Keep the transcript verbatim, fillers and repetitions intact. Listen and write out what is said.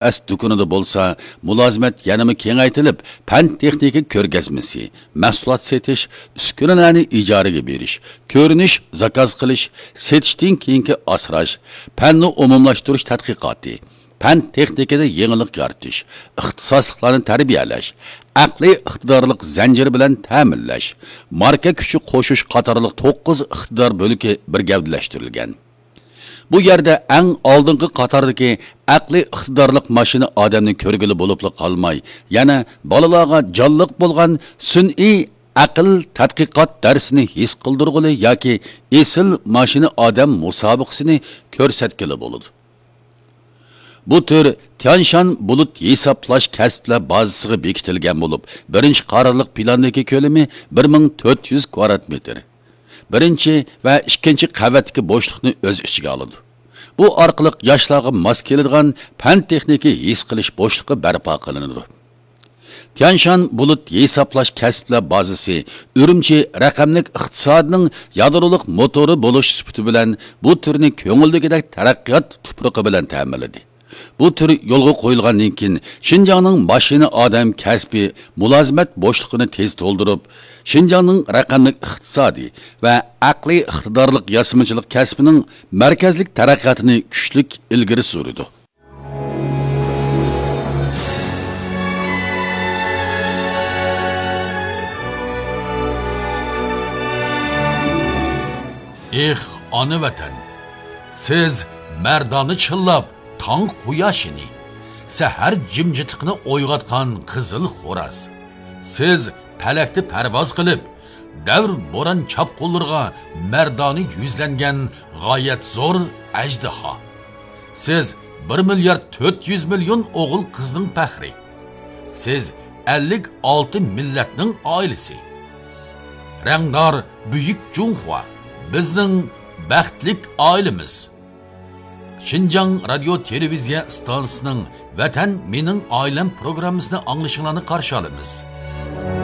ئەس دۇكىنىدا بولسا مۇلازىمەت يەنىمۇ كېڭەيتىلىپ، پەن تېخنىكا كۆرگەزمىسى، مەھسۇلات سېتىش، ئۈسكۈنىلەرنى ئىجارىگە بېرىش، كۆرۈنۈش، زاكاز قىلىش، سېتىشتىن كېيىنكى ئاسراش، پەننى ئومۇملاشتۇرۇش تەتقىقاتى، پەن تېخنىكىدا يېڭىلىق يارىتىش، ئىختىساسلىقلارنى تەربىيەلەش، ئەقلىي ئىقتىدارلىق زەنجىرى بىلەن تەمىنلەش، ماركا كۈچى قوشۇش قاتارلىق توققۇز ئىقتىدار بۆلىكى بىر گەۋدىلەشتۈرۈلگەن. بۇ يەردە ئەڭ ئالدىنقى قاتاردىكى ئەقلىي ئىقتىدارلىق ماشىنا ئادەمنى كۆرگىلى بولۇپلا قالماي، يەنە بالىلارغا جانلىق بولغان سۈنئىي ئەقىل تەتقىقات دەرسىنى ھېس قىلدۇرغىلى ياكى ئېسىل ماشىنا ئادەم مۇسابىقىسىنى كۆرسەتكىلى بولىدۇ. بۇ تۈر تيانشان بۇلۇت ھېسابلاش كەسىپلەر بازىسىغا بېكىتىلگەن بولۇپ، بىرىنچى قارارلىق پىلاندىكى كۆلىمى بىر مىڭ تۆت يۈز كۋادرات مېتىر. بىرىنچى ۋە ئىككىنچى قەۋەتتىكى بوشلۇقنى ئۆز ئىچىگە ئالىدۇ. بۇ ئارقىلىق ياشلارغا ماس كېلىدىغان پەن تېخنىكا ھېس قىلىش بوشلۇقى بەرپا قىلىنىدۇ. تيانشان بۇلۇت ھېسابلاش كەسىپلەر بازىسى ئۈرۈمچى رەقەملىك ئىقتىسادنىڭ يادرولۇق موتورى بولۇش سۈپىتى بىلەن بۇ تۈرنى كۆڭۈلدىكىدەك تەرەققىيات تۇپرىقى بىلەن تەمىنلىدى. بۇ تۈر يولغا قويۇلغاندىن كېيىن، شىنجاڭنىڭ ماشىنا ئادەم كەسپى مۇلازىمەت بوشلۇقىنى تېز تولدۇرۇپ، شىنجاڭنىڭ رەقەملىك ئىقتىسادىي ۋە ئەقلىي ئىقتىدارلىق ياسىمىچىلىق كەسپىنىڭ مەركەزلىك تەرەققىياتىنى كۈچلۈك ئىلگىرى سۈرىدۇ. ئېھ، ئانا ۋەتەن! سىز مەردانە چىللاپ تاڭ قۇياشىنى، سەھەر جىمجىتلىقىنى ئويغاتقان قىزىل خوراز. سىز پەلەكتە پەرۋاز قىلىپ، دەۋر بوران چاپقۇنلىرىغا مەردانە يۈزلەنگەن غايەت زور ئەجدىھا. سىز بىر مىليارد تۆت يۈز مىليون ئوغۇل قىزنىڭ پەخرى. سىز ئەللىك ئالتە مىللەتنىڭ ئائىلىسى. رەڭدار بۈيۈك جۇڭخۇا، بىزنىڭ بەختلىك ئائىلىمىز. شىنجاڭ رادىيو تېلېۋىزىيە ئىستانسىسىنىڭ ۋەتەن مېنىڭ ئائىلەم پروگراممىسىنى ئاڭلىشىڭلارنى قارشى ئالىمىز.